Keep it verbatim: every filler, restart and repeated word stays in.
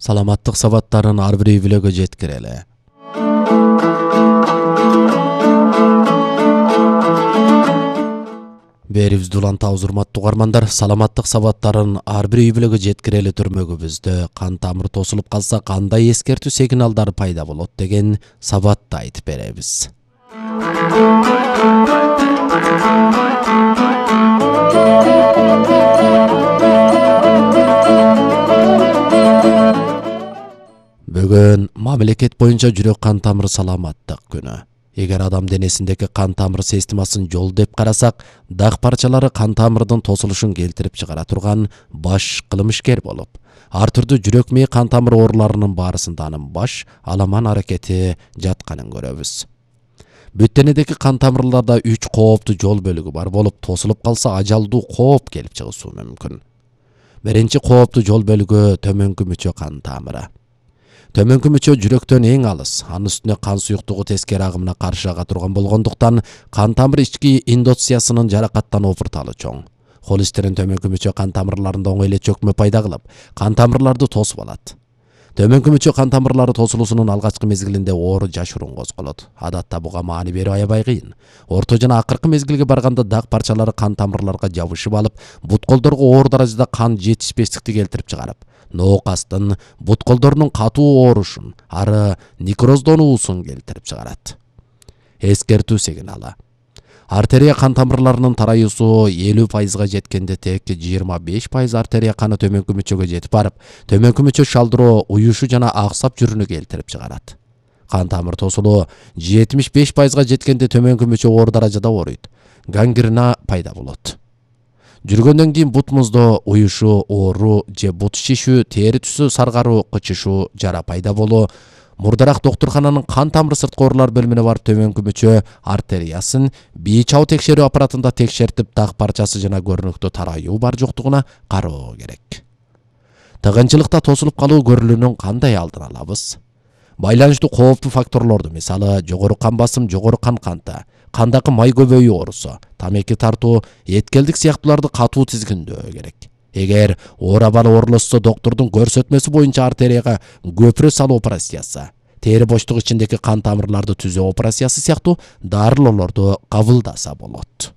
Саламаттык сабаттарын ар бир үй бүлөгө жеткирели. Берибизди улантабыз, урматтуу угармандар. Саламаттык сабаттарын ар бир үй бүлөгө жеткирели түрмөгүбүздө кан тамыр тосулуп калса кандай эскертүү сигналдары пайда болот деген сабатты айтып беребиз. Бүгүн мамлекет боюнча жүрөк кан тамыр саламаттык күнү. Эгер адам денесиндеги кан тамыр системасын жол деп карасак, дак парчалары кан тамырдын тосулушун келтирип чыгара турган баш кылмышкер болуп, ар түрдүү жүрөк мээ кан тамыр ооруларынын баарысында анын баш аламан аракети жатканын көрөбүз. Бүт денедеги кан тамырларда үч кооптуу жол бөлүгү бар болуп, тосулуп калса ажалдуу кооп келип чыгышы мүмкүн. Биринчи кооптуу жол бөлүгү төмөнкү мүчө кан тамыры. Төмөнкү мүчө жүрөктөн эң алыс, анын үстүнө кан суюктугу тескери агымына каршы ага турган болгондуктан кан тамыр ички эндотелиясынын жаракаттануу орталы чоң. Холестерин төмөнкү мүчө кан тамырларында оңой эле чөкмө пайда кылып, кан тамырларды тосуп алат. Төмөнкү мүчө кан тамырлары тосулуусунун алгачкы мезгилинде оору жашыруун козголот. Адатта буга маани берүү аябай кыйын. Орто жана акыркы мезгилге барганда дак парчалары кан тамырларга жабышып алып, бут колдорго оор даражада кан жетишпестикти келтирип чыгарып, ноокастын бут колдорунун катуу оорушун, ары некроздонуусун келтирип чыгарат. Эскертүү сигналы. Артерия кан тамырларынын тараюусу элүү пайызга жеткенде тек жыйырма беш пайыз артерия каны төмөнкү мүчөгө жетип барып, төмөнкү мүчө шалдыроо, уюшу жана аксап жүрүүнү келтирип чыгарат. Кан тамыр тосулуу жетимиш беш пайызга жеткенде төмөнкү мүчө оор даражада ооруйт. Гангрена пайда болот. Жүргөндөн кийин бут муздоо, уюшу, оору же бут шишүү, тери түсү саргаруу, кычышуу, жара пайда болуу. Мурдараак доктурхананын кан тамыр сырткы оорулар бөлүмүнө барып төмөнкү мүчө артериясын бий чабуу текшерүү аппаратында текшертип, дак парчасы жана көрүнүктүү тараюу бар жоктугуна кароо керек. Тыгынчылыкта тосулуп калуу көрүлүүнүн кандай алдын алабыз? Байланыштуу кооптуу факторлорду, мисалы жогору кан басым, жогору кан канты, кандагы май көбөйүү оорусу, тамеки тартуу, эткелдик сыяктууларды катуу тизгиндөө керек. Эгер оор абалы оорулошсо, доктурдун көрсөтмөсү боюнча артерияга көпүрө салуу операциясы, тери боштук ичиндеги кан тамырларды түзөө операциясы сыяктуу дарылоолорду кабылдаса болот.